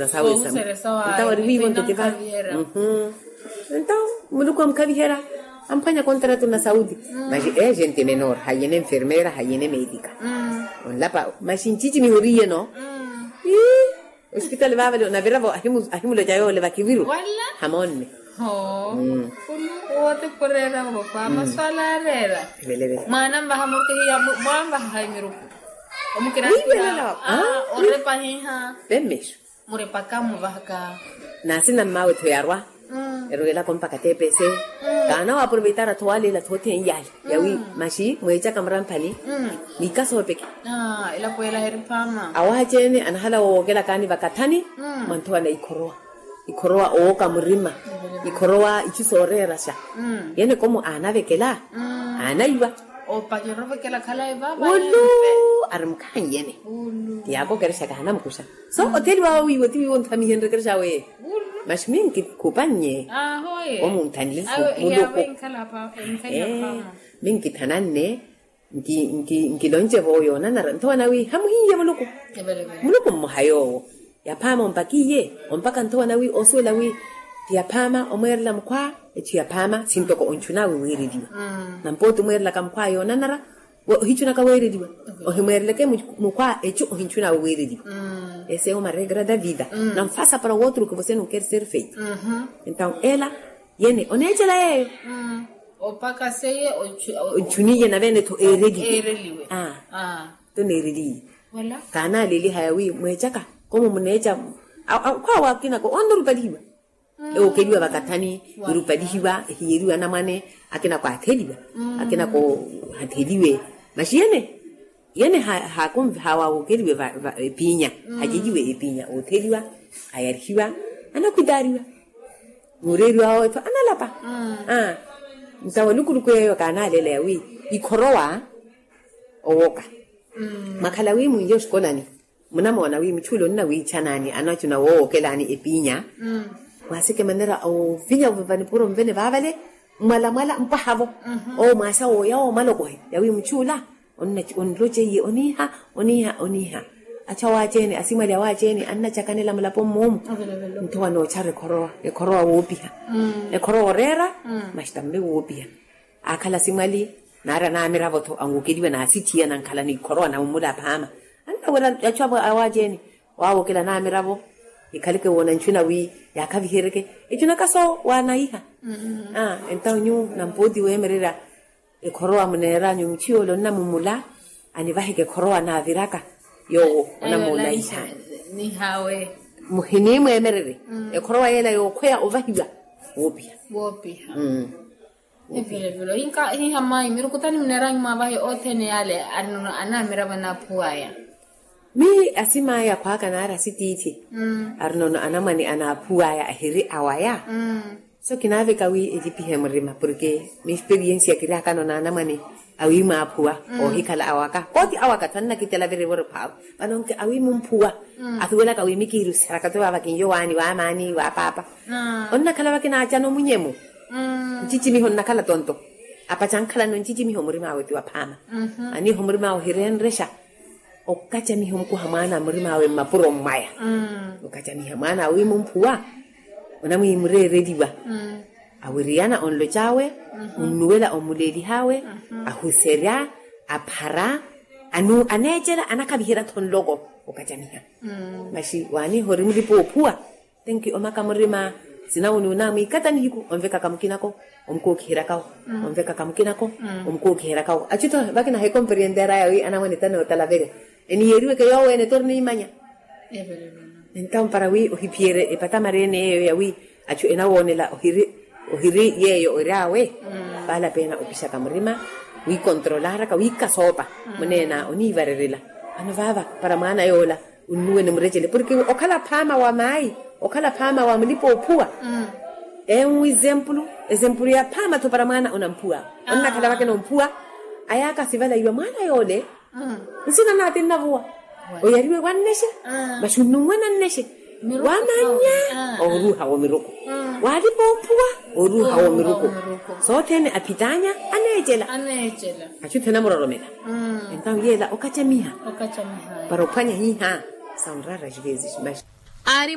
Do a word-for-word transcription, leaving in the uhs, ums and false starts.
Ntawo eri wiiwo ntete va. Ntawo muluku amukhaviherya, amphwanya kontratu na sauti. Maxi e gente menor hayina enfermera hayina emetika. Onlapa maxi ncicimiho oriyeno. Ii, ospitali vavale onaviravo ahimuloca yole vakiviru. Hamonne. Owote khureera vova maswala areera. Mwana mvaha murukehiyamwanvaha haimiruku. Omukiraiya orepa hiha. Vemexu. Murepaka muvahaka. Nasina mmawe tho yarwa. Erwelaka ompaka tepese. Kaana waproveitara tho waleela tho othene yale yawi maxi mweecaka muramphani. Nikasoopeke. Elapo ela heriphama. Awaha ceene anahala woowokelakani vakathani. Mwa nthowa na ikhorowa. Ikhorowa owooka murima. Ikhorowa ichu sooreeraxa. Yene komo aanavekela. Aanaiwa. Opakira ovekela khalayi vava. Ulu. Ari mukhaanyene. Ti yaakokerexaka hanamukuxa. So otheliwa wawiiwe ti wiiwo nthamihenryekerexa weye. Maxi minkikupannye. Omunthanile muluku. Minkithananne. Nkilonce vo yoonanara nthowa nawi hamuhiiye muluku. Muluku mmoha yoowo. Yaphaama ompakiiye ompaka nthowa nawi osuwela wi ti yaphaama omweerela mukhwa. Echu yaphaama sintoko onchunawe weereliwa. Nampooti omweerelaka mukhwa yoonanara. Ohichunaka weereliwa. Ohimweereleke mukhwa echu ohinchunawe weereliwa. Ese uma regra da vida. Nanfasa para o outro que você não quer ser feito. Entaw ela yene oneechela yeeyo. Opaka seye onchuniye navene-tho eereliwe. Toneereliye. Kaanalelihaya wi mweechaka komo muneecha. Akhwaawe akinako onirupalihiwa. Ewookeliwa vakathani irupalihiwa ehiyeriwa anamwane. Akinako atheliwa. Akinako hatheliwe. Maxi yene yene haakonvihawa wookeliwe epiinya. Haceliwe epiinya ootheliwa. Ayarihiwa. Anakhwitaariwa. Mureeriwa wawe tho analapa. Ntawo lukuluku yeeyo kaanaaleela yawi ikhorowa owoka. Mwakhala wi mwiiye oshikolani munamoona wi muchuula onnawiichanani anachuna woowokelaani epiinya. Mwaaseke manera ovinya vanipuro mvene vaavale. Mwalamwala mpwahavo. Owo mwaasa wooya woomaloko he yawi muchuula. Onloce iye oniiha oniiha oniiha. Achu awaceene asimwali awaceene annacakanela mulapo mmoomu. Nto wanoochara ekhorowa ekhorowa woopiha. Ekhorowa oreera. Maxi tambe woopiha. Aakhala asimwali naari anaamiravo-tho anwokeliwa naasithiya nankhala n'ikhorowa nammula aphaama. Annawera achu awaceene waawokela anaamiravo. Ikhaleke woona nchuna wi yaakhaviheryeke echunaka so waanaiha. Entaw nyu nampooti weemererya ekhorowa muneeranyu muchiyo ole onnamummula. Anivaheke ekhorowa naaviraka yoowo onamuulaiha. Muhinimweemererye ekhorowa yeela yookhweya ovahiwa. Woopiha. Woopiha. Evilevile ohinka hiha mayi miruku tani muneeranyu mwaavahe othene yaale arinono anaamiravo anaaphuwaya. Miyi asim'aya akhwaaka naari asitiithi. Arinono anamwane anaaphuwaya ahiri awaya. So kinaaveka wi elipihe murima porke misperiensia kiriakano n'anamwane awi mwaaphuwa. Oohikhala awaka koti awaka tho annakitela virivo ori phaavu. Vano nki awi mumphuwa athuwelaka wi mikiiruseraka tho vaava kinyo waani waamaani waapaapa. Onnakhala vakinaaca nomunyemu. Ncicimiho nnakhala tonto apacankhalano ncicimiho murim'awe ti waphaama. Aniiho murim'awe ohirenrexa. Okacamiha omukuha mwaana a murim'awe mmapuro mmwaya. Okacamiha mwaana awiimu mphuwa onamwiimureereliwa. Awiriyana onloc'awe onnuwela omuleelih'awe ahuserya aphara. Aneecela anakhaviherya-tho nloko okacamiha. Maxi waaniiha ori mulipa oophuwa. Tenki omaka murima sinawu n'unaamwiikata nihiku onvekaka mukinako omukookiheryakawo. Onvekaka mukinako omukookiheryakawo achu-tho vakina hekomperenteraya wi anamwane tanootalaverya. Eniyeeriweke yoowo-ene torniimanya. Entawo para wi ohiphiyerye epatamareene yeeyo yawi achu enawoonela ohiri yeeyo ori awe. Vaalapeena opixaka murima wiikontrolaraka wiikasoopa. Muneena oniivarerela vano vaava para mwaana yoola. Onnuwene murecele porke okhala phaama wa maayi okhala phaama wa mulipa oophuwa. Enwi ezempulu ezempulu ya phaama-tho para mwaana onamphuwa onnakhala vakena omphuwa. Ayaaka asivala iwa mwaana yoole nsina naati nnavuwa. Oyariwe wannexe maxi onnunwena nnexe. Wamanya oruuha w'omiruku walipa omphuwa oruuha w'omiruku. Sothene aphitaanya aneecela achu-tho enamuroromela. Entawo yeela okacamiha para ophwanya hiiha. Saunrara xivezi ximaxi. Aari